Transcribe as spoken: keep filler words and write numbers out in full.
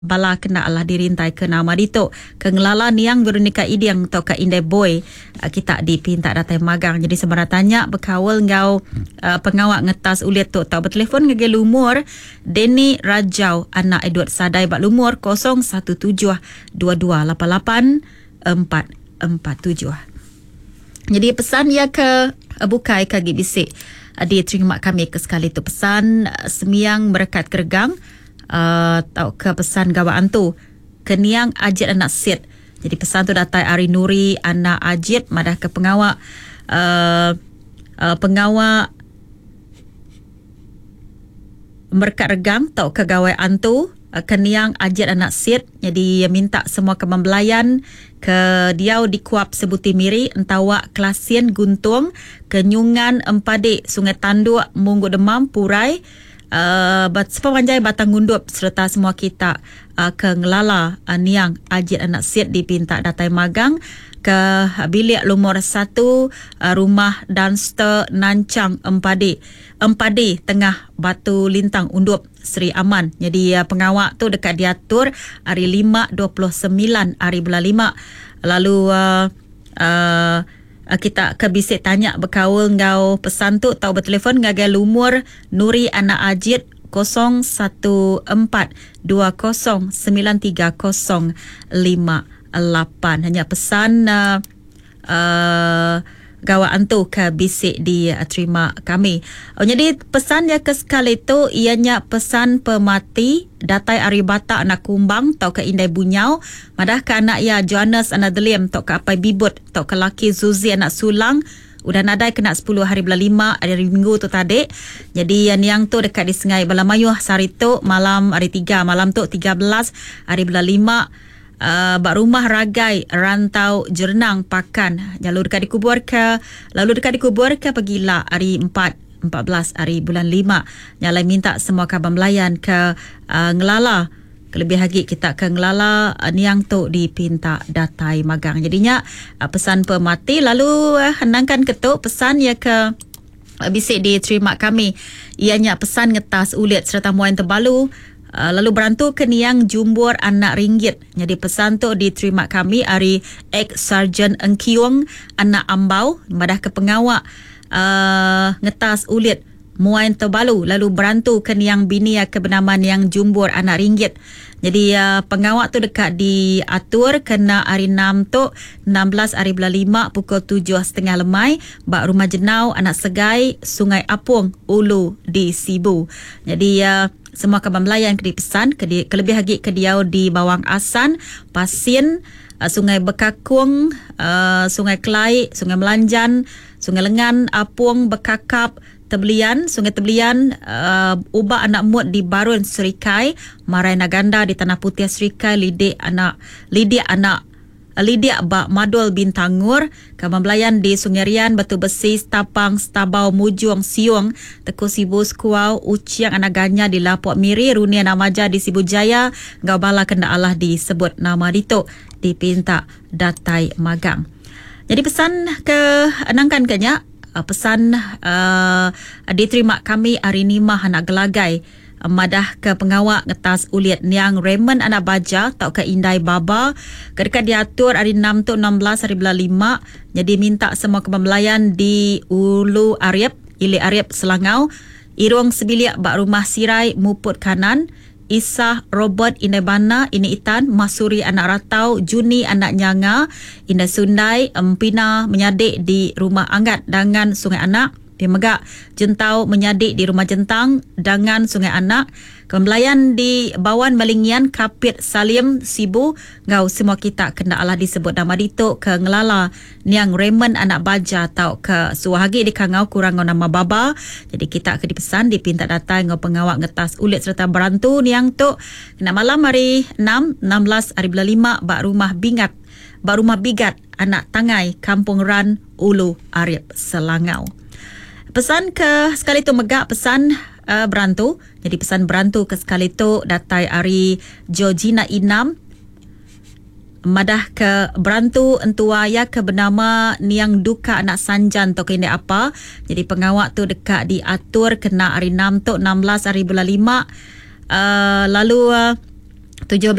Bala kena alah dirintai ke nama ditu ke ngelala niang Veronica Iding atau ke Indai Boy, kita dipinta datai magang. Jadi sebarang tanya berkaul ngau uh, pengawa ngetas ulit tu atau bertelefon ngagai lumur Denny Rajau anak Edward Sadai bak lumur kosong satu tujuh dua dua lapan lapan empat empat tujuh. Jadi pesan ia ke bukai ke agi bisik diterima kami ke sekali tu pesan semiang merekat keregang Uh, atau ke pesan gawak antu keniang Ajit anak Sid. Jadi pesan tu datai ari Nuri anak Ajit madah ke pengawak uh, uh, pengawak merekat regang atau ke gawai antu uh, keniang Ajit anak Sid. Jadi minta semua ke membelayan ke diau di Kuap Sebuti Miri, Entawak Klasien Guntung, Kenyungan Empadik, Sungai Tanduk, Munggu Demam, Purai, Uh, bat sepanjai Batang Gundup serta semua kita uh, ke ngelala uh, niang Ajit anak Sid dipinta datai magang ke bilik lumur satu uh, rumah Dunster Nancang Empadi Empadi Tengah Batu Lintang Undup Seri Aman. Jadi uh, pengawak tu dekat diatur hari lima dua puluh sembilan hari bulan lima. Lalu uh, uh, kita ke bisik tanya berkaul ngau pesan tu atau bertelefon ngagai lumur Nuri anak Ajit kosong satu empat dua kosong sembilan tiga kosong lima lapan. Hanya pesan uh, uh, gawak antu ke bisik diterima kami. Oh, jadi pesan yang ke sekali tu ianya pesan pemati datai ari Batak anak Kumbang atau ke Indai Bunyau madah ke anak ya Johannes anak Delim atau ke Apai Bibut atau ke laki Zuzi anak Sulang udah nadai kena sepuluh hari bulan lima hari Minggu tu tadi. Jadi yang, yang tu dekat di Sengai Balamayuh sehari tu malam hari tiga malam tu tiga belas hari bulan lima. Uh, bak rumah Ragai Rantau Jernang Pakan. Lalu dekat dikubur ke lalu dekat dikubur ke pegila hari empat empat belas hari bulan lima. Nyalai minta semua kaban melayan ke uh, ngelala kelebih lagi kita ke ngelala uh, niang tu dipinta datai magang. Jadinya uh, pesan pemati lalu uh, henangkan ketuk pesan ya ke uh, bisik diterima kami. Ianya pesan ngetas ulit serta muain terbalu. Uh, lalu berantu ke niang Jumbur anak Ringgit. Jadi pesan tu diterima kami ari ex Sarjan Engkiung anak Ambau madah ke pengawak uh, ngetas ulit muain terbalu lalu berantu ke niang bini ke bernama niang Jumbur anak Ringgit. Jadi uh, pengawak tu dekat diatur kena hari enam tu enam belas hari bulan lima pukul tujuh setengah lemai bak rumah Jenau anak Segai Sungai Apung Ulu di Sibu. Jadi uh, semua kaban melayan ke dipesan ke di, kelebih lagi ke diau di Bawang Asan, Pasin, uh, Sungai Bekakung, uh, Sungai Kelai, Sungai Melanjan, Sungai Lengan, Apung, Bekakap, Tebelian, Sungai Tebelian, uh, Ubak Anak Mut di Barun Serikai, Marai Naganda di Tanah Putih Serikai, Lidik Anak Lidik Anak Lidik Bak Madul Bintangur, Kaban Belayan di Sungai Rian, Batu Besi, Stapang, Stabau, Mujung, Siung, Teku Sibu, Sekuau, Uciang Anak Ganya di Lapok Miri, Runia Namaja di Sibu Jaya, Gau Bala Kena Allah disebut nama ditu dipinta datai magang. Jadi pesan ke nangkan kenya pesan uh, diterima kami hari Nimah anak Gelagai madah ke pengawak ngetas ulit niang Raymond anak Baja atau ke Indai Baba kedekat diatur hari enam tu enam belas hari bulan lima. Jadi minta semua kebembelayan di Ulu Ariep, Ili Ariep Selangau, Irung Sebiliak bak rumah Sirai Muput Kanan, Isah Robert Indai Bana, Ini Itan, Masuri anak Ratau, Juni anak Nyanga, Indai Sundai, Empina menyadik di rumah Anggat Dangan Sungai Anak. Dia megak Jentau menyadik di rumah Jentang Dangan Sungai Anak. Kembelayan di Bawan Melingian Kapit Salim Sibu ngau semua kita kena Allah disebut nama ditu ke ngelala niang Raymond anak Baja atau ke Suahagi di Kangau kurang ngau nama Baba. Jadi kita ke dipesan dipinta datang ngau pengawak ngetas ulit serta berantu niang tu kena malam hari enam enam belas hari bulan lima bak rumah Bingat bak rumah Bigat anak Tangai Kampung Ran Ulu Ariep Selangau. Pesan ke sekali tu megak pesan uh, berantu. Jadi pesan berantu ke sekali tu datai ari Georgina Inam madah ke berantu entua ya ke bernama Niang Duka anak Sanjan atau kene apa. Jadi pengawak tu dekat diatur kena hari enam tu enam belas hari bulan lima. Uh, lalu uh, Tujuh